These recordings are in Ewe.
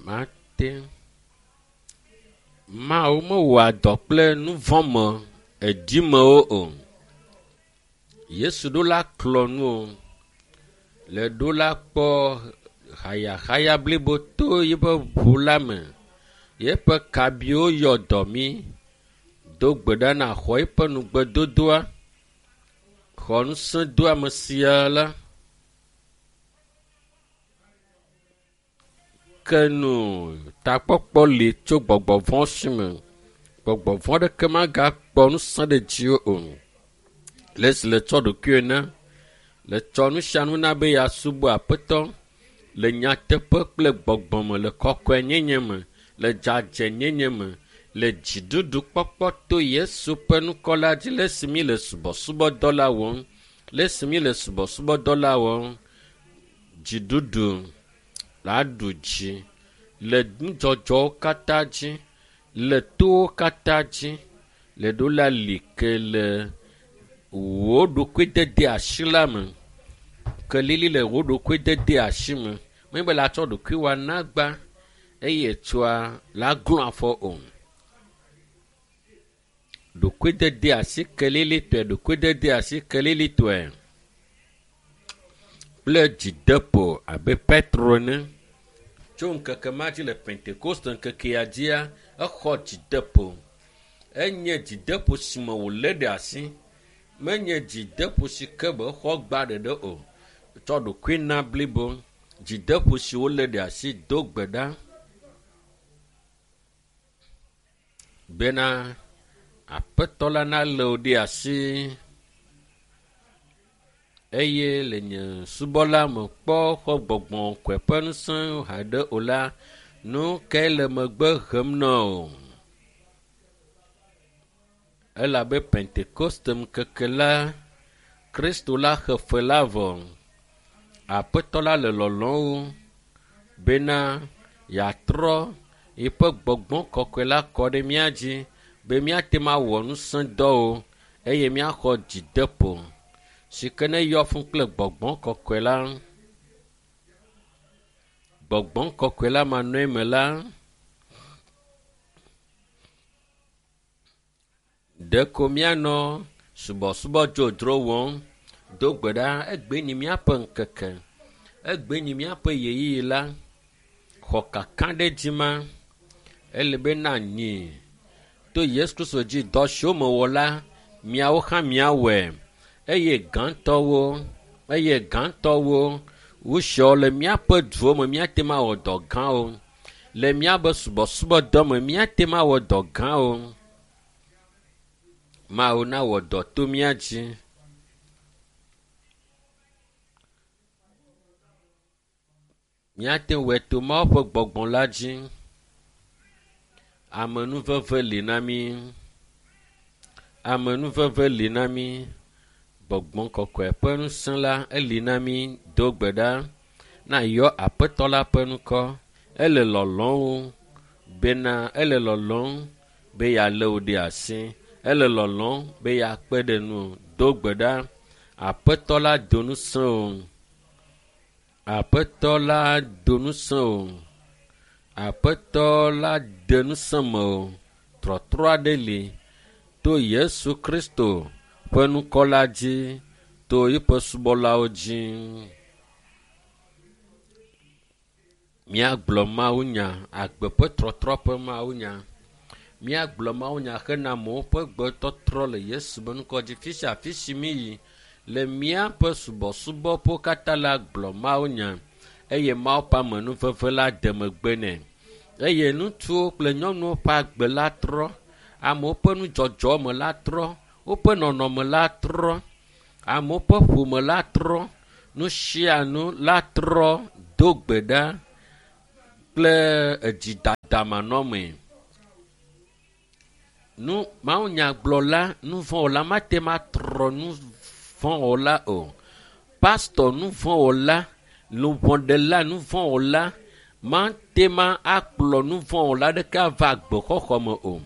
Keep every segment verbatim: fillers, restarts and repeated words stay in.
Mate Mawu mewɔa dɔ kple nuvɔ̃me edimewo o. Yesu ɖo la klɔ nu o. Le ɖo la kpɔ hayahaya blibo to yiƒe ʋu la me. Yeƒe kabiwo yɔ dɔ mí. Do gbe ɖa na xɔ eƒe nugbedodoa. Xɔ ŋusẽdoame sia la. Ke nu takpɔkpɔ li tso gbɔgbɔ vɔ̃ si me. Gbɔgbɔ vɔ̃ ɖeke magakpɔ ŋusẽ ɖe dziwò o. Le esi le tsɔ ɖokuiwò na, le tsɔ nu sia nu na be yeasubɔ Aƒetɔ le nyateƒe kple gbɔgbɔ me, le kɔkɔenyenye me, le dzadzɛnyenye me, le dziɖuɖu kpɔkpɔ to Yesu ƒe ŋkɔ la dzi le esi mi le subɔsubɔdɔ la wɔm, le esi mi le subɔsubɔdɔ la wɔm, dziɖuɖu la ɖu dzi le nudzɔdzɔwo katã dzi, le towo katã dzi, le ɖo la li ke le wò ɖokuidede asi la me. Kelili le wò ɖokuidede asi me. Menye be la tsɔ ɖokuiwò ana agba eye etsɔa la glɔ̃ afɔ o. Ɖokuidede asi kelilitɔe, ɖokuidede asi kelilitɔe kple dzideƒo abe Petro ene. Tso ŋkeke ma dzi le Pentekoste ŋkekea dzia, exɔ dzideƒo. Enye dzideƒo si me wòlé ɖe asi. Menye dzideƒo si ke be exɔ gba ɖeɖe o. Tsɔ ɖokui na blibo. Dzideƒo si wolé ɖe asi do gbe ɖa bena Aƒetɔ la nalé wò ɖe asi eye le nye subɔla me kpɔ xɔ gbɔgbɔ kɔe ƒe ŋusẽ haɖe o la, nu kae le megbe hem na o? Elabe Pentekoste ŋkeke la, Kristo la xe fe la vɔ. Aƒetɔ la le lɔlɔ̃m bena yeatrɔ yiƒe gbɔgbɔ kɔkɔe la kɔ ɖe mía dzi be míate ŋu awɔ ŋusẽdɔwo eye míaxɔ dzideƒo si ke ne yɔ fũ kple gbɔgbɔ kɔkɔe la. Gbɔgbɔ kɔkɔe la manɔe me la, ɖeko míanɔ subɔsubɔ dzodzro wɔm. Do gbe ɖa, egbe nyi míaƒe ŋkeke, egbe nyi míaƒe ɣeyiɣi la. Xɔ kaka ɖe dzi ma. Ele be na nyi to Yesu Kristo dzi dɔ siwo mewɔ la, miawo hã miawɔe. Eye gãtɔwo, eye gãtɔwo, wusiawo le míaƒe duwo me míate ŋu awɔ dɔ gãwo. Le míaƒe subɔsubɔdɔ me míate ŋu awɔ dɔ gãwo. Mawu nawɔ dɔ to mía dzi. Míate ŋu wɔe to Mawu ƒe gbɔgbɔ la dzi. Amenuveve li na mí. Amenuveve li na mí. Gbɔgbɔ kɔkɔe ƒe ŋusẽ la eli na mí. Do gbe ɖa na yɔ Aƒetɔ la ƒe ŋkɔ. Ele lɔlɔ̃m bena ele lɔlɔ̃m be yealé wò ɖe asi. Ele lɔlɔ̃m be yeakpe ɖe ŋuwò. Do gbe ɖa. Aƒetɔ la do ŋusẽ wò. Aƒetɔ la do ŋusẽ wò. Aƒetɔ la de ŋusẽ mewò. Trɔtrɔ aɖe li to Yesu Kristo ƒe ŋkɔ la dzi, to eƒe subɔlawo dzi. Míagblɔ mawunya, agbe ƒe trɔtrɔ ƒe mawunya. Míagblɔ mawunya hena amewo ƒe gbetɔtrɔ le Yesu ƒe ŋkɔ dzi. Fi sia fi si míyi le míaƒe subɔsubɔƒewo katã la gblɔ mawunya eye Mawu ƒe amenuveve la de megbe nɛ. Eye ŋutsuwo kple nyɔnuwo ƒe agbe la trɔ, amewo ƒe nudzɔdzɔ me la trɔ, woƒe nɔnɔme la trɔ, amewo ƒe ƒome la trɔ, nu sia nu la trɔ. Do gbe ɖa kple edzidadamanɔmee. Nu mawunyagblɔla nuvɔ̃wɔla mate ŋu atrɔ nuvɔ̃wɔla o. Pastɔ nuvɔ̃wɔla, luʋɔɖela nuvɔ̃wɔla mate ŋu akplɔ nuvɔ̃wɔla ɖeke ava agbexɔxɔ me o.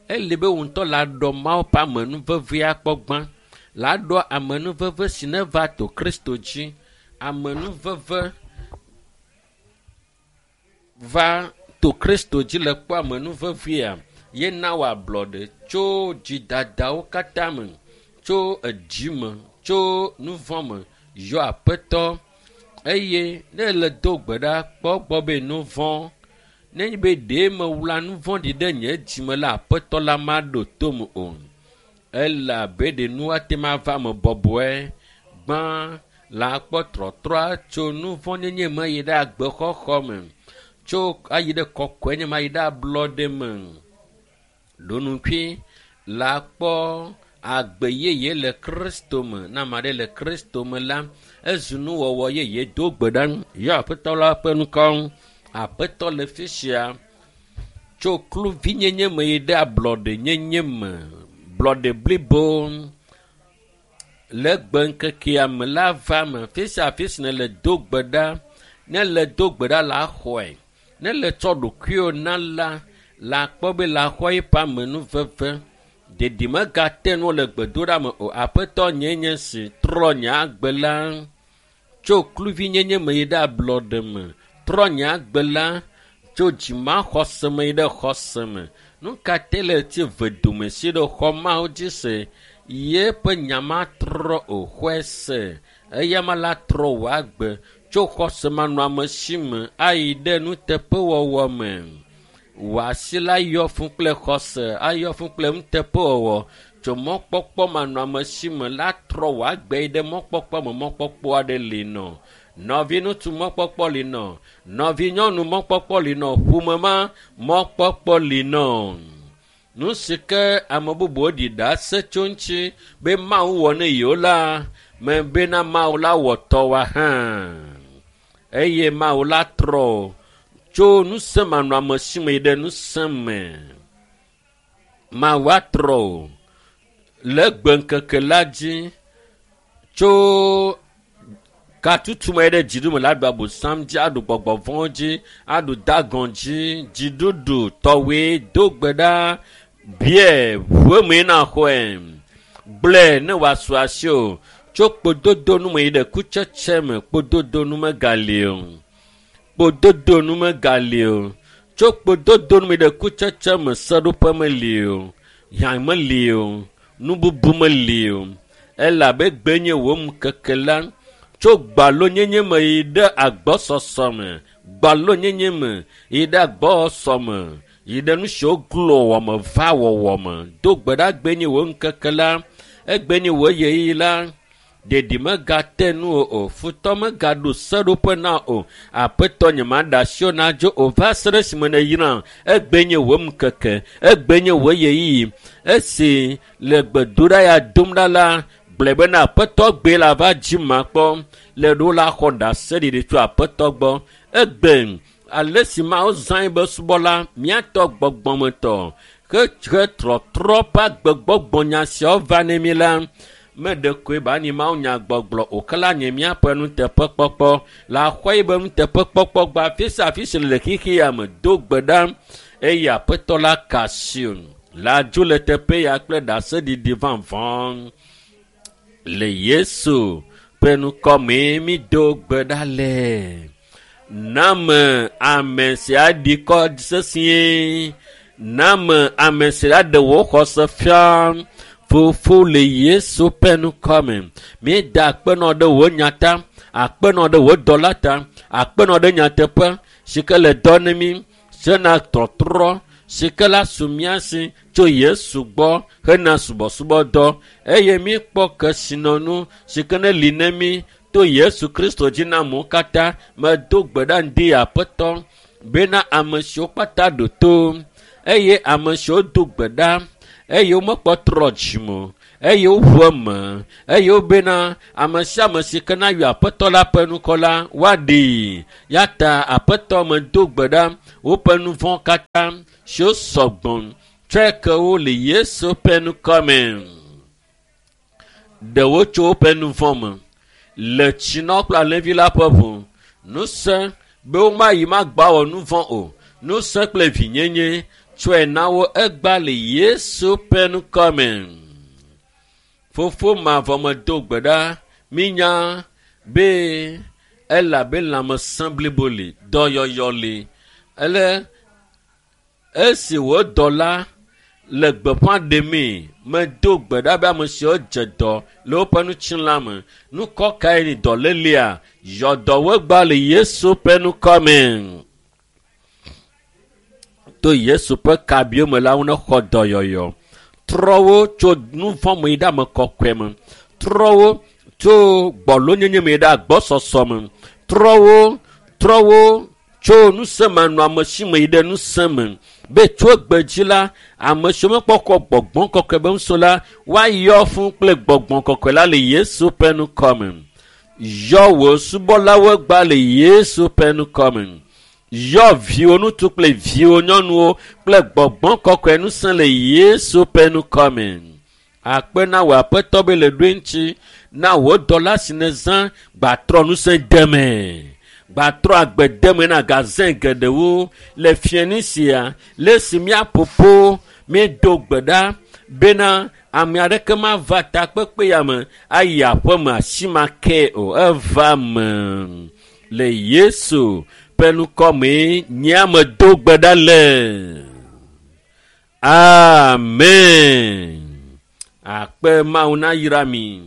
Ele be wò ŋutɔ la ɖɔ Mawu ƒe amenuvevea kpɔ gbã. La ɖɔ amenuveve si neva to Kristo dzi. Amenuveve va to Kristo dzi le kpɔ amenuvevea ye na wò ablɔɖe tso dzidadawo katã me, tso edzi me, tso nu vɔ̃ me. Yɔ Aƒetɔ eye ne le do gbe ɖa kpɔ gbɔ be nu vɔ̃ nenye be ɖe mewla nu vɔ̃ ɖi ɖe nye dzime la Aƒetɔ la maɖo tom o. Elabe ɖe nu ate ŋu ava me bɔbɔe. Gbã la kpɔ trɔtrɔa tso nu vɔ̃ nyenye me yi ɖe agbexɔxɔ me, tso ayi ɖe kɔkɔenye me ayi ɖe ablɔɖe me. Ɖonukui la kpɔ agbe yeye le Kristo me. Ne ame aɖe le Kristo me la, ezu nuwɔwɔ yeye. Do gbe ɖa yɔ Aƒetɔ la ƒe ŋkɔ. Aƒetɔ le fi sia tso kluvinyenye me yi ɖe ablɔɖenyenye me, blɔɖe blibo le gbe ŋkekea me la va me. Fi sia fi si nèle do gbe ɖa, ne le do gbe ɖa la xɔe. Ne le tsɔ ɖokuiwò na la, la kpɔ be la xɔ eƒe amenuveve. Ɖeɖi megate nu le gbedoɖa me o. Aƒetɔ nye nye si trɔ nye agbe la tso kluvinyenye me yi ɖe ablɔɖe me. Trɔ nye agbe la tso dzimaxɔse me yi ɖe xɔse me. Nu ka te le ti ve dome si ɖe xɔ Mawu dzi se? Yeƒe nya matrɔ o. Xɔe se. Eya ma la trɔ wò agbe tso xɔsemanɔamesi me ayi ɖe nuteƒewɔwɔ me. Wò asi la yɔ fũ kple xɔse, ayɔ fũ kple nuteƒewɔwɔ. Tso mɔkpɔkpɔ manɔamesi me la trɔ wò agbe yi ɖe mɔkpɔkpɔ me. Mɔkpɔkpɔ aɖe li nɔ. Nɔvi ŋutsu mɔkpɔkpɔ li nɔ. Nɔvi nyɔnu mɔkpɔkpɔ li nɔ. Ƒome ma mɔkpɔkpɔ li nɔ. Nu si ke ame bubuwo ɖi ɖase tso ŋuti be Mawu wɔ ne yewo la, me bena Mawu la wɔ tɔwa hã. Eye Mawu la trɔ tso ŋusẽ manɔamesi me yi ɖe ŋusẽ me. Mawu atrɔ le gbe ŋkeke la dzi tso katutu me ɖe dziɖume la aɖu abosam dzi, aɖu gbɔgbɔ vɔ̃wo dzi, aɖu dagɔn dzi, dziɖuɖu tɔwoe do gbe ɖa, biɛ ʋu eme na xɔe, gblɔe ne wòasu asi o. Tso kpododo nu me yi ɖe kutsetse me, kpododo nu megali o. Kpododo nu megali o. Tso kpododo nu me yi ɖe kutsetse me, seɖoƒe meli o. Hiã meli o. Nububu meli o. Elabe gbe nye wò ŋkeke la. Tso gbalonyenye me yi ɖe agbɔsɔsɔ me, gbalonyenye me yi ɖe agbɔsɔsɔ me, yi ɖe nu siwo glo wɔ me va wɔwɔ me. Do gbe ɖa gbe nye wò ŋkeke la, egbe nye wò ɣeyiɣi la. Ɖeɖi megate nu o, o. Futɔ megaɖo seɖoƒe na o. Aƒetɔ nye maɖe asi wò nadzo o. Va se ɖe esime nèyram. Egbe nye wò ŋkeke, egbe nye wò ɣeyiɣi. Esi le gbedoɖa ya dom ɖa la, gblɔe bena Aƒetɔ gbe la va dzi makpɔ. Le ɖo la xɔ ɖaseɖiɖi tso Aƒetɔ gbɔ. Egbe ale si Mawu zã be subɔla, míatɔ gbɔgbɔmetɔ, he he trɔtrɔ ƒe agbegbɔgbɔnya siawo va ne mí la, meɖe koe ba nyi Mawu nya gbɔgblɔ o, ke la nye míaƒe nuteƒekpɔkpɔ. La xɔ yi be nuteƒekpɔkpɔ gba afi sia afi si le xexea me. Do gbe ɖa eye Aƒetɔ la ka asi o. La dzo le teƒe ya kple ɖaseɖiɖi vavã. Le Yesu ƒe ŋkɔ mee mi do gbe ɖa le. Name ame si aɖi kɔ sesĩe. Name ame si aɖe wò xɔse fia. Fofo le Yesu ƒe ŋkɔ me. Míeda akpenɔ ɖe wò nya ta, akpenɔ ɖe wò dɔla ta, akpenɔ ɖe nyateƒe si ke le dɔ ne mí, sena trɔtrɔ si ke la su mía si tso Yesu gbɔ hena subɔsubɔdɔ eye míkpɔ kesinɔnu si ke ne li ne mí to Yesu Kristo dzi na amewo katã. Medo gbe ɖa ŋdi Aƒetɔ bena ame siwo kpata ɖo to eye ame siwo do gbe ɖa eye womekpɔ trɔ dzime o, eye woʋu eme eye wobena ame sia ame si ke na yɔ Aƒetɔ la ƒe ŋkɔ la woaɖee. Ya ta Aƒetɔ medo gbe ɖa woƒe nu vɔ̃ katã siwo sɔgbɔ tsɔe ke wo le Yesu ƒe ŋkɔ me. Ɖe wo tso woƒe nu vɔ̃ me le tsinɔ kple alẽvi la ƒe ʋu. Ŋusẽ be womayi magba wɔ nu vɔ̃ o. Ŋusẽ kple vinyenye tsɔe na wo egba le Yesu ƒe ŋkɔ me. Fofo mavɔ medo gbe ɖa mínya be elabe lãmesẽ blibo li, dɔyɔyɔ li. Ele Esi wò dɔla le gbeƒã ɖemee, medo gbe ɖa be ame siwo dze dɔ le woƒe ŋutilã me. Nukɔ kae ni dɔlélia? Yɔ dɔwo gba le Yesu ƒe ŋkɔ me. To Yesu ƒe kabiwo me la, wonexɔ dɔyɔyɔ. Trɔ wo tso nu vɔ̃ me yi ɖe ame kɔkɔe me. Trɔ wo tso gbɔlonyenye me yi ɖe agbɔsɔsɔ me. Trɔ wo, trɔ wo tso ŋusẽmanɔamesi me yi ɖe ŋusẽ me. Be tso egbe dzi la, ame siwo mekpɔ xɔ gbɔgbɔ kɔkɔe be ŋusẽ la, woayɔ fũu kple gbɔgbɔ kɔkɔe la le Yesu ƒe ŋkɔ me. Yɔ wò subɔlawo gba le Yesu ƒe ŋkɔ me. Yɔ viwò ŋutsu kple viwò nyɔnuwo kple gbɔgbɔ kɔkɔe ŋusẽ le Yesu ƒe ŋkɔ me. Akpe na wò aƒetɔ be le ɖoe ŋuti na wò dɔla si nèzã gbatrɔ ŋusẽ deme. Gbatrɔ agbe deme na gazẽ geɖewo le fiẽni sia le esi míaƒoƒo míedo gbe ɖa bena ame aɖeke mava takpekpe ya me ayi aƒeme asi ma ke o. Eva me le Yesu ƒe ŋkɔ mee nye ame do gbe ɖa le. Amen. Akpe Mawu nayra mi.